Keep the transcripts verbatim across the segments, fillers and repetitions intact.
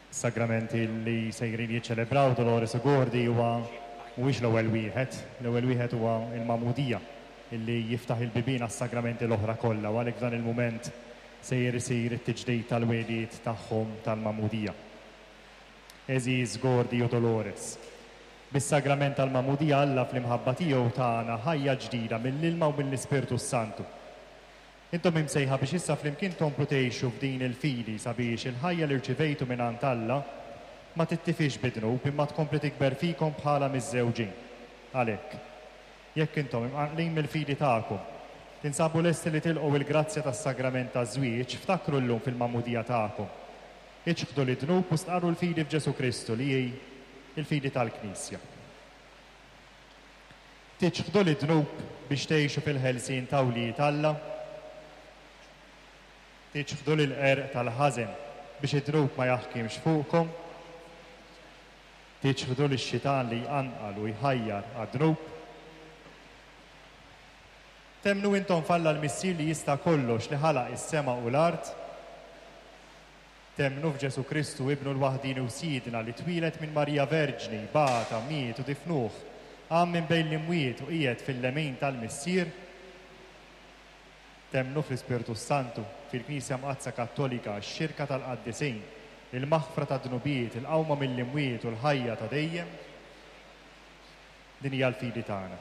Sagramenti li sejrin jiċċelebraw Dolores u Gordi huwa mhuwiex l-ewwel wieħed, l-ewwel wieħed huwa il-magħmudija illi jiftaħ il-bibien għas-sagramenti l-oħra kollha u għalhekk f'dan il-mument sejjer isir it-tiġdid tal-wegħdiet tagħhom tal-magħmudija. Għeżież Gordi u Dolores. Bis-sagrament tal-magħmudija Alla fl-imħabba tiegħu tana ħajja ġdida mill-ilma u mill-Ispirtu Santu. Intom imsejħa biex issa flimkien tkomplu tgħixu f'din il-fidi sabiex il-ħajja li rċivejtu mingħand Alla ma tittifix bid-dnub imma tkompli tikber fikom bħala miżżewġin. Għalhekk, jekk intom imqanqlin mill-fidi tagħkom, tinsabu lesti li tilqgħu il-grazzja tas-sagrament taż-żwieġ, ftakru llum fil-magħmudija tagħkom. Iċħdu lid-dnub u stqarru l-fidi f'Ġesu Kristu li hi il-fidi tal-Knisja. Tiċħdu lid-dnub biex tgħixu fil-ħelsien ta' wlied Alla. Tiċħdu l-qerq tal-ħażen biex id-dnub ma jaħkimx fuqkom. Tiċħdu lix-xitan li jqanqal u jħajjar għad-dnub. Temmnu intom f'Alla l-Missier li jista' kollox li ħalaq is-sema u l-art. Temmnu f'Ġesu Kristu ibnu l-waħdini u Sidna li twieled minn Marija Verġni, bata, miet u difnuh, qam minn bejn l-imwiet u qiegħed fil-lemin tal-Missier. Temmnu fl-Ispirtu Santu, fil-Knisja Mqaddsa Kattolika, x-xirka tal-qaddisin, il-maħfra ta' dnubiet, il-qawma mill-imwiet u l-ħajja ta' dejjem. Din hija l-fidi tagħna.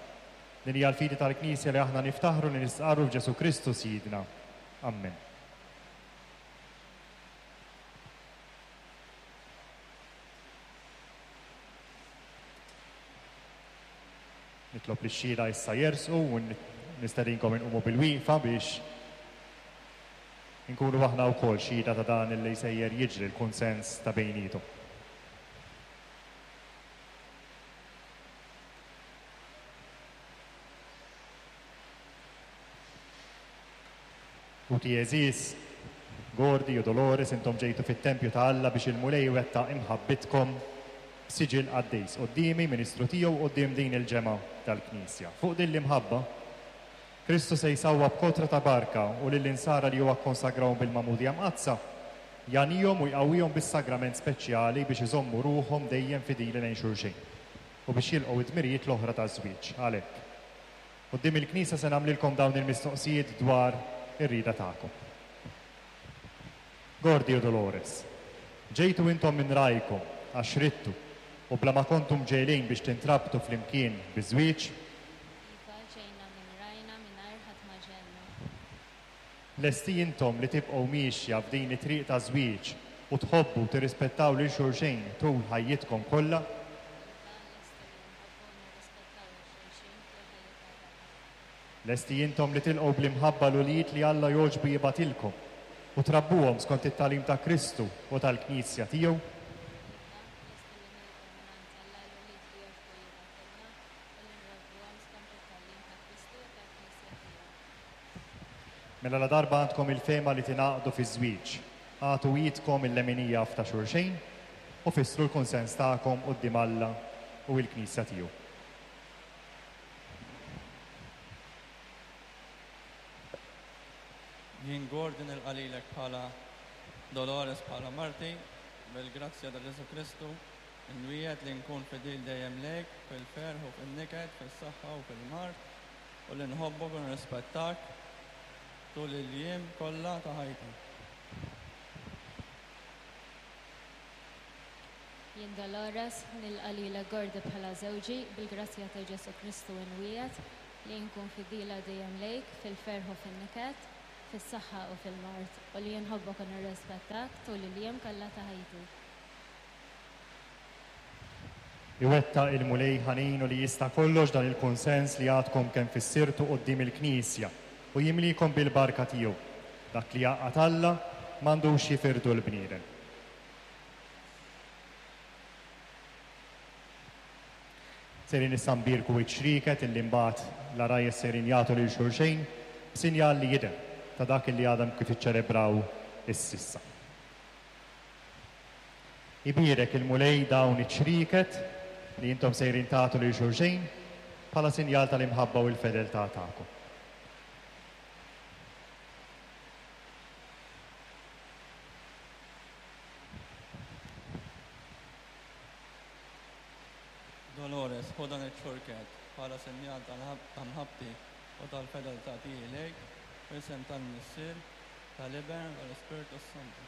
Din hija l-fidi tal-Knisja li aħna niftaħru li nistqarru f'Ġesu Kristu Sidna. Amen. Nitlob li x-xhieda issa jersqu u nistedinkom inqumu bil-wieqfa biex inkunu aħna wkoll xhieda ta' dan li sejjer jiġri l-kunsens ta' bejnietom. Ħuti għeżież, Gordi u Dolores, intom ġejtu fit-tempju ta' Alla biex il-Mulej iwettaq imħabbitkom b'siġill qaddis quddiemi, ministru tiegħu quddiem din il-ġemgħa tal-Knisja. Fuq din l-imħabba, Kristu se jsawwab kotra ta' barka u lill-insara li huwa kkonsagrawhom bil-magħmudija mqaddsa, jagħnihom u jqawwihom bis-sagrament speċjali biex iżommu ruħhom dejjem fidili lejn xulxin u biex jilqgħu id-dmirijiet l-oħra taż-żwieġ. Għalhekk, quddiem il-Knisja se nagħmlilkom dawn il-mistoqsijiet dwar ir-rieda tagħkom. Gordi u Dolores, ġejtu intom minn rajkom għax ridtu u bla ma kontum mġegħlin biex tintrabtu flimkien biż-żwieġ? Iva, ġejna minn rajna mingħajr ħadd ma ġegħelna. Lesti intom li tibqgħu miexja f'din it-triq ta' żwieġ u tħobbu u tirrispettaw lil xulxin tul ħajjitkom kollha? Iva, lesti li nħobbu u nirrispettaw lil xulxin tul ħajjitna kollha. Lesti intom li tilqgħu bl-imħabba l-ulied li Alla jogħġbu jibgħatilkom u trabbuhom skont it-tagħlim ta' Kristu u tal-Knisja tiegħu? Iva, lesti li nilqgħu mingħand Alla l-ulied li jogħġbu jibgħatilna u li nrabbuhom skont it-tagħlim ta' Kristu u tal-Knisja tiegħu. Mela la darba għandkom il-fehma li tingħaqdu fiż-żwieġ, agħtu idkom il-leminija f'ta' xulxin u fissru l-kunsens tagħkom quddiem Alla u l-Knisja tiegħu. Jien Gordi nilqa' lilek bħala Dolores bħala marti, bil-grazzja ta' Ġesu Kristu, inwiegħed li nkun fidil dejjem lejk fil-ferħ u fil-niket, fis-saħħa u fil-mard, u li nħobbok u nirrispettak tul il-jiem kollha ta' ħajti. Jien Dolores nilqa' lilek Gordi bħala żewġi, bil-grazzja ta' Ġesu Kristu inwiegħed li nkun fidila dejjem lejk fil-ferħ u fin-niket, fis-saħħa u fil-mard, u li nħobbok u nirrispettak tul il-jiem kollha ta' ħajti. Iwettaq il-Mulej ħanin u li jista' kollox dan il-kunsens li għadkom kemm fissirtu quddiem il-Knisja u jimlikom bil-barka tiegħu. Dak li jgħaqqad Alla m'għandux jifirdu l-bniedem. Sejrin issa nbierku iċ-ċrieket illi mbagħad l-għarajjes sejrin jagħtu lil xulxin b'sinjal li jidher ta' dak illi għadhom kif iċċelebraw is-sissa. Ibierek il-Mulej dawn iċ-ċrieket li intom sejrin tagħtu lil xulxin bħala sinjal tal-imħabba u l-fedeltà tagħkom. Dolores, ħu dan iċ-ċurket bħala sinjal ta' mħabbti u tal-fedeltà tiegħi lejk, f'isem tal-Missier, tal-Iben u tal-Ispirtu Santu.